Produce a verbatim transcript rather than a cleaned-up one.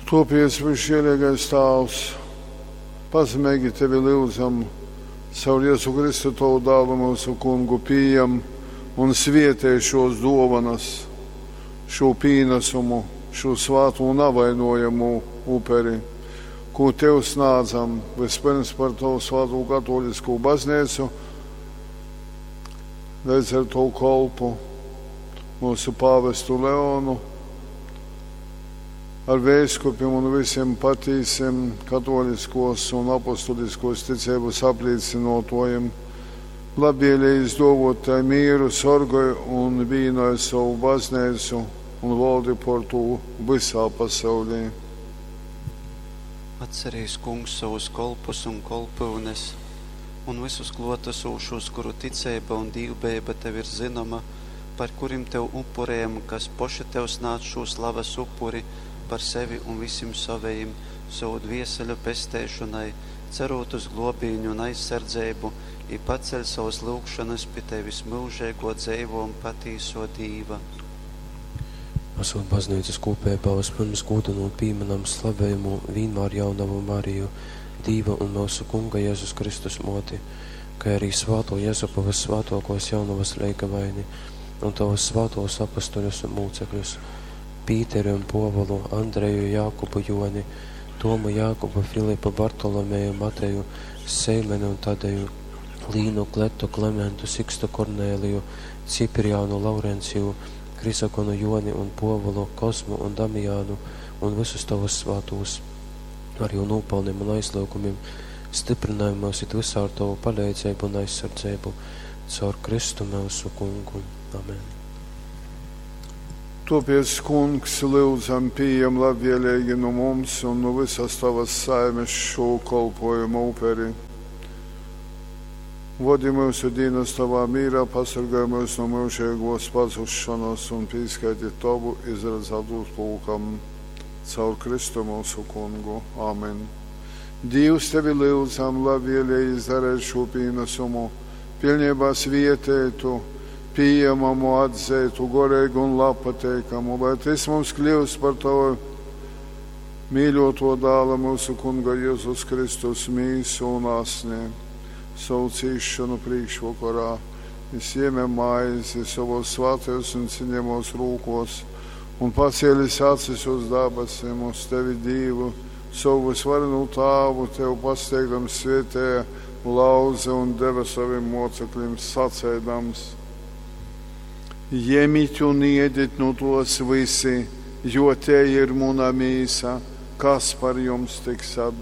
Topiec, visžielīgais Tāvs, pazemeigi Tevi lyudzam, caur Jezu Kristu Tovu dālu mūsu kungu pījam un svietej šos duovanas, šo pīnesumu, šo svātū navainojamū uperi, ko Tev snādzam vispirms par Tavu svātū katoliskū baznīcu, leidz ar Tavu kolpu, mūsu pāvestu Leonu, ar vēskupim un visiem patīsiem katoliskos un apostuliskos ticības aplīcinotojiem, labvēlīgi izdovot tai mīru, sorgoj un vīnoj savu baznīcu un valdi por tū visā pasaulī. Atcerīs, Kungs, savus kolpus un kolpyunes un visus klotesošos, kuru ticeiba un dīvbejeiba tev ir zinoma, par kurim tev upurējam, kas poši tev snādz šū slavas upuri par sevi un visim savejim, sovu dvieseļu pesteišonai, cerot uz globīņu un aizsardzeibu, i paceļ savas lyugšonas pi tevis myužeigo dzeivo un patīso Dīva. Esot baznīcas kūpībā, vispirms gūdinu un pīminam slavējumu vīnmār jaunavu Mariju, Dīva un mūsu Kunga Jēzus Kristus moti, kā arī svāto Jezupa vissvātokos jaunavas leigavaini un tavus svātos apustuļus un mūcekļus, Pīteri un Povulu, Andreju, Jākubu, Joni, Tomu, Jākubu, Filipu, Bartolomeju, Mateju, Seimeni un Tadeju, Līnu, Kletu, Klementu, Sikstu, Kornēliju, Cipriānu, Laurenciju, Krisagonu, Joni un Povulu, Kozmu un Damijānu un visus tavus svātūs, ar jū nopelniem un aizliegumiem, stiprinājumos mūs it visā ar tavu palīdzību un aizsardzību, caur Kristu mūsu kungu. Amen. Topiec, kungs, lūdzam, pieejam labvēlīgi no mums un no visas tavas saimes šo kolpojumu uperi. Vodi mūsu dienas tavā mīrā, pasargāj mūs no mūžīgos pazušanas un pīskaiti tavu izredzētu pulkam caur Kristu mūsu kungu. Amen. Dievs tevi lūdzam, labvēlīgi izdarēt šo pienesumu, pilnībā svietētu, pieejamamu, atzētu, gorīgu un labpateikamu, lai tas mums kļūst par tavu mīļoto dāla mūsu kunga Jēzus Kristus mīsu un asni, savu cīšanu priekšvakarā. Viņš iemē maizi savos svētajos un cienījamos rūkos un pacēlis acis uz dabasim, uz tevi Dievu, savu visvarenu tāvu, tev pasteigdams svietēja lauze un deva saviem mocekļiem sacēdams. Ņemiet un iediet no tos visi, jo te ir muna mīsa, kas par jums tiks atdota.